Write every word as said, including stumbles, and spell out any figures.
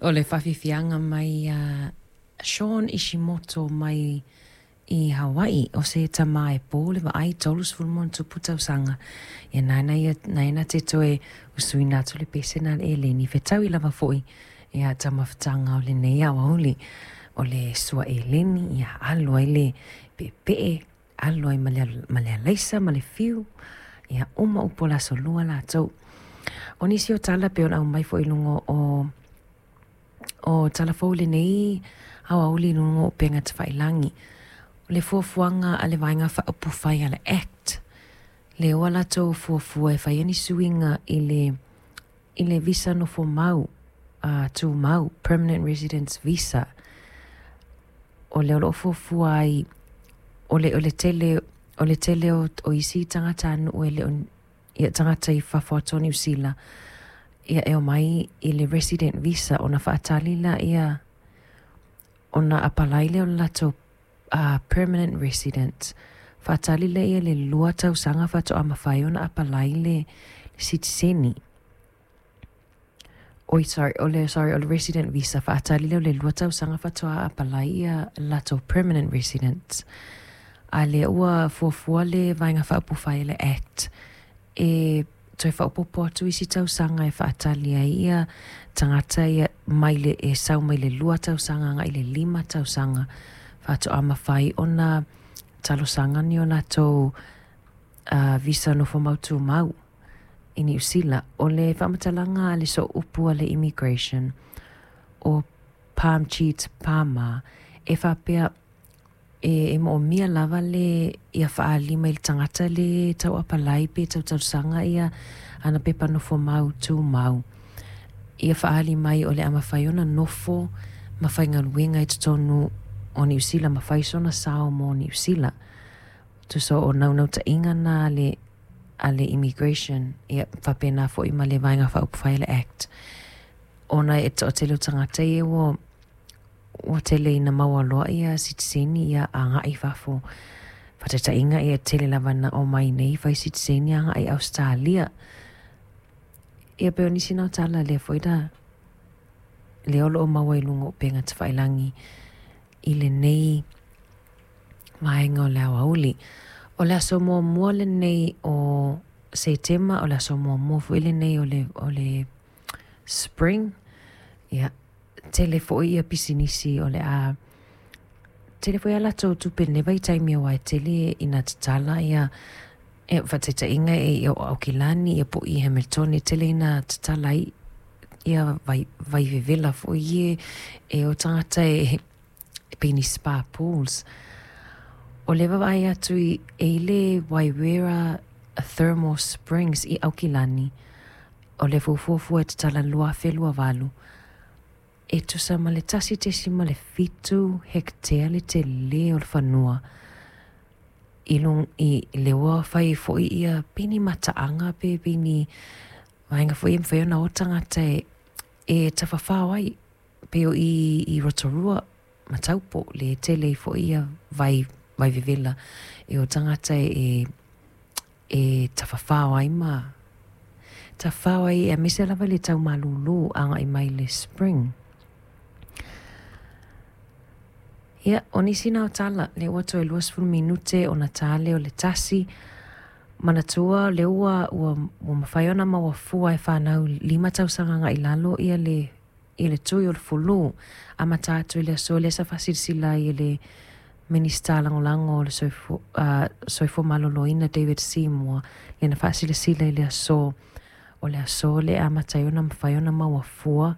O le faafiafiaga mai ia Shawn Ishimoto mai i Hawaii, o se tamā e pō le vaai tolu sefulu ma ona tupu tausaga. Ia nāna ia nāna te toe usuina atu le pese na le eleni fetaui lava fo'i ia taumafataga o lenei aoauli o le sua eleni ia alu ai le peepee alu ai ma le, ma le alaisa ma le fiu ia uma upu o le aso lua latou. O nisi o tala pe ona aumai fo'i i luga o o tala fou lenei aoauli i luga o upega tafailagi. O le fuafuaga a le Vaega Faaupufai a le ACT, lea ua latou fuafua e fai ni suiga i le, i le visa nofo mau, uh, tumau, Permanent Residence Visa. O lea o loo fuafua ai, o le, o le tele, o le tele o, o isi tagatanuu e le o ia tagata i fafo atu o Niu Sila, ia e omai i le resident visa ona faatali laia ona apalai lea o le latou uh, permanent resident. Faatali laia le lua tausaga faatoa mafai ona apalai le, le sitiseni. Oi, sorry, o le, sorry, o le resident visa faatali lea o le lua tausaga faatoa apalai ia latou permanent resident. A lea ua fuafua le Vaega Faaupufai le ACT e toe faaopoopo atu isi tausaga e faatali ai ia tagata ia mai le e sau mai le lua tausaga agai le lima tausaga faatoa mafai ona talosaga ni o latou uh, visa nofo mau tumau i Niu Sila. O le faamatalaga a le sooupu a le immigration o Parmjeet Parmar e faapea e, e moomia lava le ia faalima i le tagata le tau apalai pe tau talosaga ia ana pepa nofo mau tumau. Ia faali mai o le a mafai ona nofo ma faigaluega i totonu o Niu Sila ma fai sona sao mo Niu Sila. Tusa o naunautaiga na le a le immigration ia faapena fo'i ma le Vaega Faaupufai le ACT. Ona e toatele o tagata ia ua ua tele ina maua loa ia sitiseni ia agai i fafo. Faataitaiga ia tele lava na omai nei fai sitiseni agai i Australia. Ia pe o nisi na o tala lea foi da lea o loo maua i luga o upega tafailagi i lenei vaega o le aoauli. O le aso muamua lenei o Setema, o le aso muamua foi lenei o le, o le spring. Ia, tele foi ia pisinisi o le a tele foi a latou tupe nei vaitaimi aua e tele ina tatala ia e faataitaiga e ia o Aukilani ia po i Hamilton e tele ina tatala ai ia vai, vai vevela foi e e o tagata e e pei ni spa pools. O le vaavaai atu i e i le Waiwera Thermal Springs i Aukilani. O le fuafuafua e tatala lua afe lua valu. E tusa ma le tasi tesima le fitu hektea le telē o le fanua. I lung, i le ua fai foi ia pei ni mataaga pe pei ni vaega foi e mafai ona o tagata e, e tafafao ai. Pe o i, i Rotorua ma Taupo le tele ai foi ia vai, vai vevela e o tagata e, e tafafao ai ma tafafao ai aemaise lava le tau malūlū agai mai le spring. Ia, o nisi na o tala, le ua toe lua sefulu minute ona ta lea o le tasi, manatua le ua, ua, ua mafai ona maua fua e fanau lima tausaga agai lalo ia le, ia le tui o le fulu. Amata atu i le aso lea sa faasilasila ai e le Minista Lagolago o le Soifua, uh, Soifua Maloloina David Seymour lena faasilasila i le aso o le aso le amata ai ona mafai ona maua fua